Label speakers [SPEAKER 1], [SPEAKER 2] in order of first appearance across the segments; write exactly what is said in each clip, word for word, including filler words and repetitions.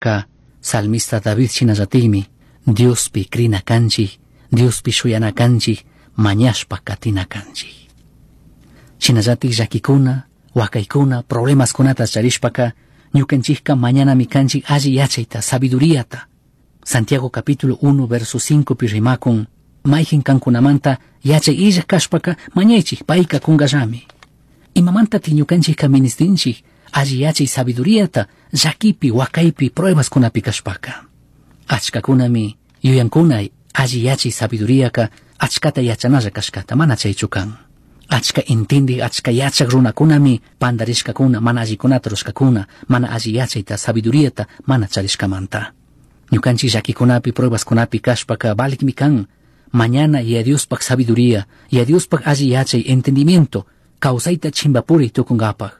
[SPEAKER 1] kashpaka salmista David shinallatikmi Diospi crina kanchik, Diospi shuyana kanchik, mañashpa katina kanchik. Shinallatik llakikuna, wakaykuna, problemaskunata charishpaka ñukanchikka mañanami kanchik alli yachayta, sabiduriata. Santiago capítulo uno verso cinco pi rimakun, mayjin kankunamanta yachay illaj kashpaka mañaychik, payka kunkallami. Imamantatik ñukanchikka ministinchik alli yachay sabiduriata llakipi, wakaypi, pruebaskunapi kashpaka. Achkakunami yuyankuna alli yachay sabiduriaka achkata yachanalla kashkata, mana chaychu kan. Achka intindik, achka yachak runakunami pandarishkakuna, mana allikunata rushkakuna, mana alli yachayta, sabiduriata mana charishkamanta. Ñukanchik llakikunapi, pruebaskunapi kashpaka valikmi kan mañana Yaya Diospaj sabiduría, Yaya Diospaj alli yachay, entendimiento, kawsayta chimpapuri tukunkapaj.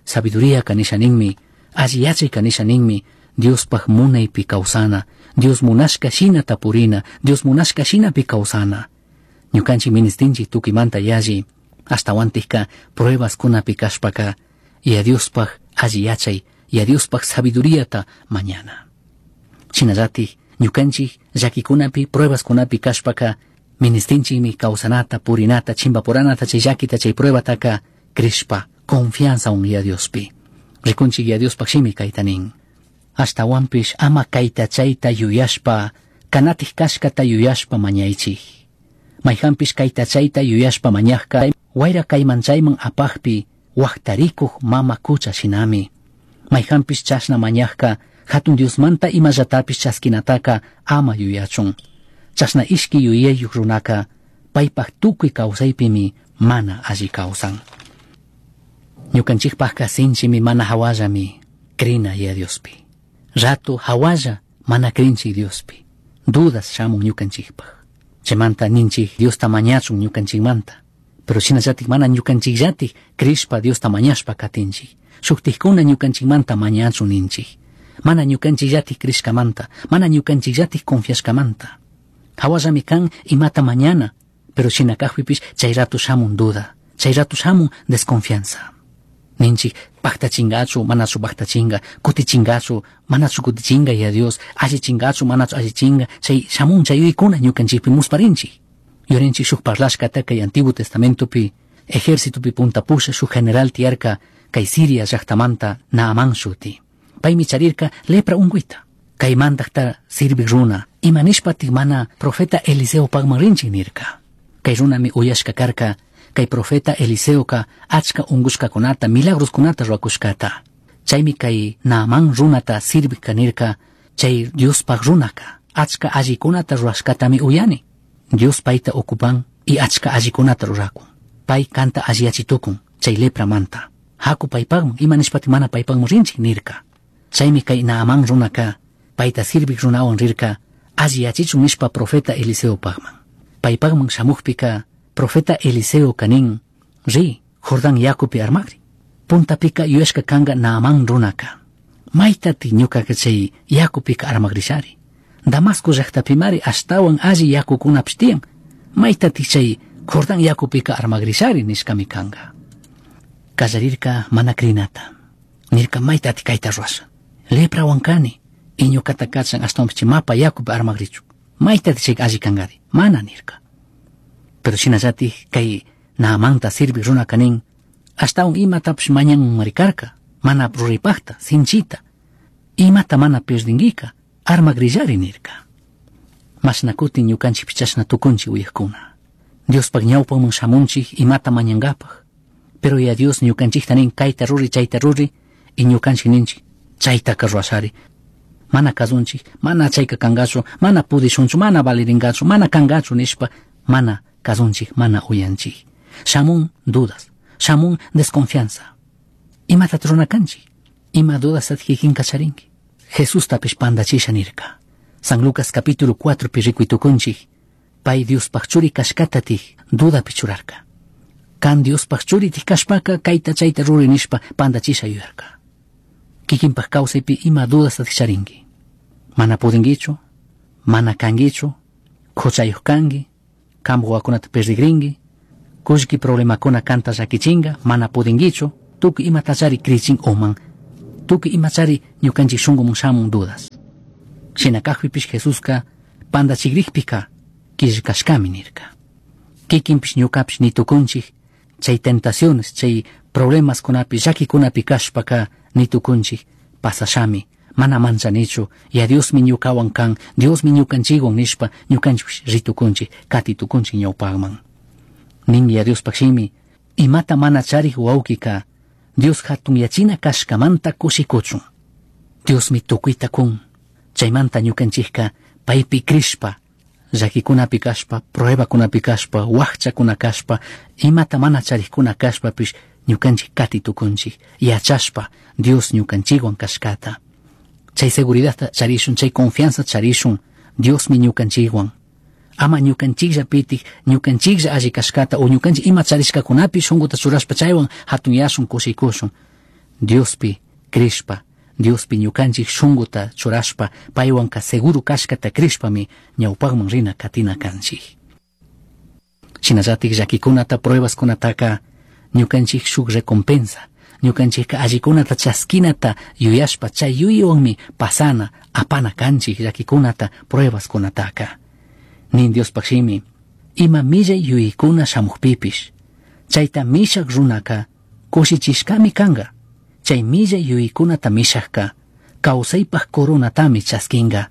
[SPEAKER 1] Sabiduría kanisha ninmi, alli yachay kanisha ninmi, Diospaj munaypi kawsana, Dios munashka shinata purina, Dios munashka shinapi kawsana. Ñukanchik ministinchik tukuymanta yalli, ashtawantikka pruebaskunapi kashpaka, Yaya Diospaj alli yachay, Yaya Diospaj sabiduriata mañana. Shinallatik ñukanchik llakikunapi, pruebaskunapi kashpaka, ministinchikmi kawsanata, purinata, chimbapuranata, chay llakita, chay pruebataka crishpa, confianza un Yaya Diospi. Rikunchik Yaya Diospaj shimi kayta nin. Ashtawanpish ama kayta chayta yuyashpa, kanatik kashkata yuyashpa mañaychik. Mayjanpish kayta chayta yuyashpa mañajka, wayra kayman chayman apajpi, wajtarikuj mama kucha shinami. Mayjanpish chashna mañajka, hatun Diosmanta imallatapish chaskinataka ama yuyachun. Chashna ishki yuyayuj runaka, paypaj tukuy kawsaypimi mana alli kawsan. Ñukanchikpajka sinchimi mana hawallami crina Yaya Diospi. Rato hawalla mana crinchik Diospi. Dudas shamun ñukanchikpaj. Chaymanta ninchik Diosta mañachun ñukanchikmanta. Pero shinallatik mana ñukanchikllatik crishpa Diosta mañashpa katinchik. Shuktikkuna ñukanchikmanta mañachun ninchik. Mana ñukanchikllatik crishkamanta, mana ñukanchikllatik confiashkamanta. Hawallami kan imata mañana, pero shina kajpipish chay rato shamun duda, chay rato shamun desconfianza. Ninchik paktachingachu, manachu paktachinga, kutichingachu, manachu kutichinga Yaya Dios, allichingachu, manachu allichinga, chay shamun chay yuyaykuna ñukanchikpi musparinchik. Yurinchik shuk parlashkata kay Antiguo Testamentopi, ejércitopi punta pusha shuk general tiyarka kay Siria llaktamanta Naamán shuti. Paymi charirka lepra unguita. Kay mandakta sirvik runa, ima nishpatik mana profeta Eliseo pagman rinchik nirka. Kay runami uyashka karka, kay profeta Eliseoka achka ungushkakunata, milagroskunata ruwakushkata. Chaymi kay Naamán runata sirvik nirka, chay Diospaj runaka, achka allikunata ruwashkatami uyani. Dios payta ocupan y achka allikunata rurakun. Pay kanta alliyachitukun, chay lepramanta. Haku paypagman, ima nishpatik mana paypagman rinchik nirka. Chaymi kay Naamán runaka, payta sirvik runawan rirka, alliyachichun nishpa profeta Eliseo pagman. Paypagman shamukpika, profeta Eliseo kanin, ri, Jordán yakupi armakri. Puntapika yuyashka kanga Naamán runaka. Maytati ñukaka chay yakupika armakrishari. Damasco llaktapimari ashtawan alli yakukunapish tiyan. Maytati chay Jordán yakupika armakrishari nishkami kanga. Kallarirka mana crinata. Nirka maytati kayta ruwasha. Leprawan kani. Y ñukata kachan ashtawanpish chay mapa yakupi armakrichun. Maytati chay alli kankari. Mana nirka. Pero shinallatik kay Naamanta sirvik runaka nin, ashtawan imatapish mañanmari karka, mana ruraypakta, sinchita. Imata mana pierdinkika, armakrillari nirka. Mashna kutin ñukanchikpish chashna tukunchik uyakuna. Diospaj ñawpaman shamunchik imata mañankapaj. Pero Yaya Dios ñukanchikta nin kayta ruri, chayta ruri, y ñukanchik ninchik chaytaka ruwashari. Mana kasunchik, mana chayka kankachu, mana pudishunchu, mana valirinkachu, mana kankachu nishpa, mana kasunchik, mana uyanchik. Shamun dudas, shamun desconfianza. Imata rurana kanchik? Ima dudas kikinka charinki? Jesustapish pandachisha nirka. San Lucas capítulo cuatro pi rikuy tukunchik, pay Diospaj churi kashkatatik dudapi churarka. Kan Diospaj churitik kashpaka kayta chayta ruri nishpa pandachisha yuyarka. Kikinpaj kawsaypi ima dudastatik charinki? Mana pudinkichu, mana kankichu, huchayuq kanki, kanpak wawakunata perdigrinki, kullki problemakuna kanta llakichinka, mana pudinkichu, tukuy imatachari krichin uman. Tukuy imachari ñukanchik shunkumun shamun dudas. Shina kajpipish Jesuska pandachigrikpika killkashkami nirka. Kikinpish ñukapish nitukunchik chay tentaciones, chay problemaskunapi, llakikunapi kashpaka nitukunchik pasashami, mana manchanichu, ya Diosmi ñukawan kan, Diosmi ñukanchikwan nishpa ñukanchikpish ritukunchik, katitukunchik ñawpakman. Nin ya Diospaj shimi, imata mana charik wawkika Dios hatunyachina kashkamanta kushikuchun. Diosmi tukuyta kun, chaymanta ñukanchikka paypi crishpa, llakikunapi kashpa, pruebakunapi kashpa, wakchakuna kashpa, imata mana charikuna kashpapish ñukanchik katitukunchik, yachashpa Dios ñukanchikwan kashkata. Chay seguridadta charishun, chay confianza charishun, Diosmi ñukanchikwan. Ama ñukanchikllapitik, ñukanchiklla alli kashkata o ñukanchik ima charishkakunapi shunkuta churashpa chaywan hatunyashun, kushikushun. Diospi crishpa, Diospi ñukanchik shunkuta churashpa, paywanka seguro kashkata crishpami ñawpakman rina katina kanchik. Shinallatik llakikunata, pruebaskunataka ñukanchik shuk recompensa, ñukanchikka allikunata chaskinata yuyashpa chay yuyaywanmi pasana, apana kanchik llakikunata, pruebaskunataka. Nin Diospaj shimi, ima millay yuyaykuna shamukpipish, chayta mishak runaka kushichishkami kanka. Chay millay yuyaykunata mishakka kawsaypaj coronatami chaskinka.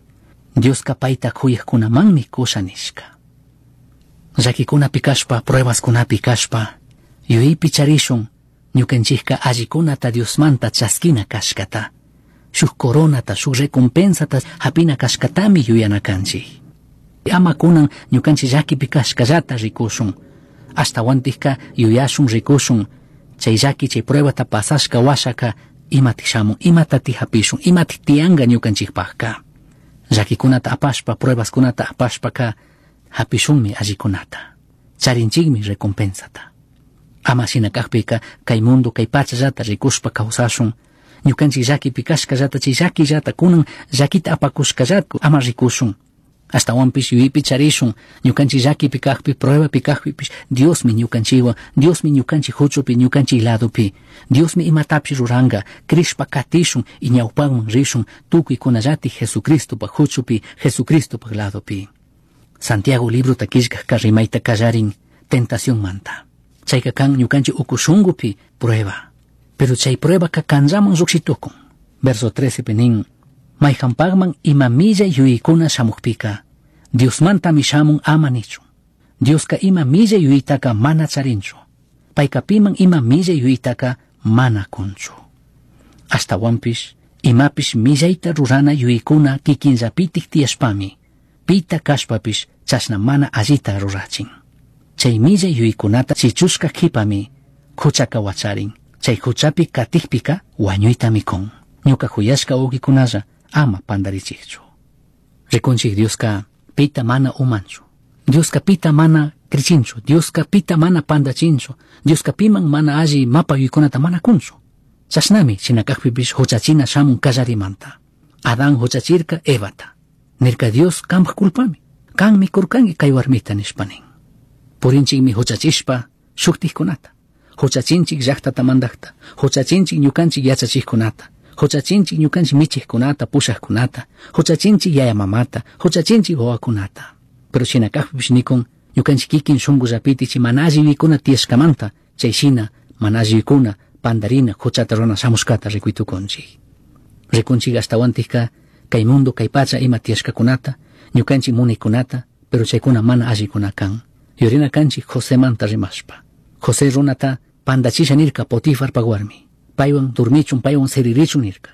[SPEAKER 1] Dioska payta kuyajkunamanmi kusha nishka. Llakikunapi kashpa, pruebaskunapi kashpa, yuyaypi charishun ñukanchikka allikunata Diosmanta chaskina kashkata. Shuk coronata, shuk recompensata hapina kashkatami yuyana kanchik. Ama kunan ñukanchik llakipi kashkallata rikushun. Ashtawantikka yuyashun rikushun. Chay llaki, chay pruebata pasashka washaka imatik shamun, imatati hapishun, imatik tiyanka ñukanchikpakka. Llakikunata apashpa, pruebaskunata apashpaka hapishunmi allikunata. Charinchikmi recompensata. Ama shina kakpika kay mundo, kay pachallata rikushpa kawsashun. Ñukanchik llakipi kashkallata, chay llakillata, kunan llakita apakushkallata ama rikushun. Ashtawanpish yuyaypi charishun, ñukanchik llakipi kakpi, pruebapi kakpipish, Diosmi ñukanchikwan, Diosmi ñukanchik huchupi, ñukanchik ladopi. Diosmi imatapish ruranka, crishpa katishun y ñawpakman rishun, tukuykunallatik Jesucristopaj huchupi, Jesucristopaj ladopi. Santiago librota killkajka rimayta kallarin tentacionmanta. Chayka kan ñukanchik uku shunkupi prueba. Pero chay pruebaka kanllaman llukshitukun. Verso trece pi nin, mayhanpakman ima millay yuyaykuna shamukpika, Diosmantami shamun ama nichun. Dioska ima millay yuyaytaka mana charinchu. Payka piman ima millay yuyaytaka mana kunchu. Ashtawanpish, imapish millayta rurana yuyaykuna kikinllapitik tiyashpami, pita kashpapish chashna mana allita rurachin. Chay millay yuyaykunata chichushka kipami huchaka wacharin. Chay huchapi katikpika wañuytami kun. Ñuka huyashka wawqikunalla ama pantarichikchu. Rikunchik Dioska pita mana umanchu. Dioska pita mana krichinchu. Dioska pita mana pantachinchu. Dioska piman mana alli mapa yuyaykunata mana kunchu. Chashnami shina kakpipish huchachina shamun kallarimanta. Adán huchachirka Evata. Nirka Dios kanpaj culpami. Kanmi kurkanki kay warmita nishpa nin. Purinchikmi huchachishpa shuktikkunata. Huchachinchik llaqtata mandaqta. Huchachinchik ñukanchik yachachikkunata. Huchachinchik ñukanchik michikkunata, pushaqkunata. Huchachinchik yaya mamata, huchachinchik wawakunata. Pero shina kakpipish nikun ñukanchik kikin shunkullapiti chay mana alli yuyaykuna tiyashkamanta, chay shina mana alli yuyaykuna pandarina huchata runa shamushkata rikuytukunchik. Rikunchik ashtawantikka kay mundo, kay pacha ima tiyashkakunata, ñukanchik munaykunata, pero chaykuna mana allikuna kan. Yurina kanchik Josemanta rimashpa. José runata pandachisha nirka Potifarpa warmi. Paywan durmichun, paywan siririchun nirka.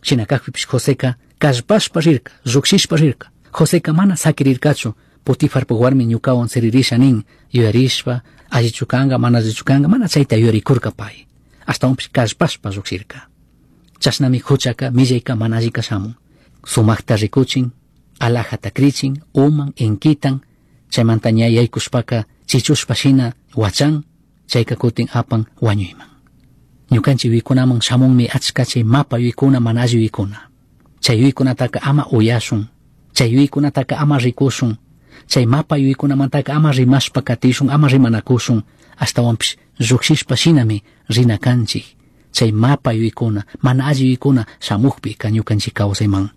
[SPEAKER 1] Shina kakpipish Joseka kallpashpa rirka, llukshishpa rirka. Joseka mana sakirirkachu Potifarpa warmi ñukawan siririsha nin, yuyarishpa, allichu kanka, mana allichu kanka, mana chayta yuyarikurka pay. Ashtawanpish kallpashpa llukshirka. Chashnami huchaka, millayka mana allika shamun. Sumakta rikuchin, alajata krichin, uman, inkitan, chaymanta ña yaykushpaka chichushpa shina wachan, chayka kutin apan wañuyman. Ñukanchik yuyaykunaman shamunmi achka chay mapa yuyaykuna, mana alli yuyaykuna. Chay yuyaykunataka ama uyashun, chay yuyaykunataka ama rikushun, chay mapa yuyaykunamantaka ama rimashpa katishun, ama rimanakushun, ashtawanpish llukshishpa shinami rina kanchik. Chay mapa yuyaykuna, mana alli yuyaykuna shamukpika ñukanchik kawsayman.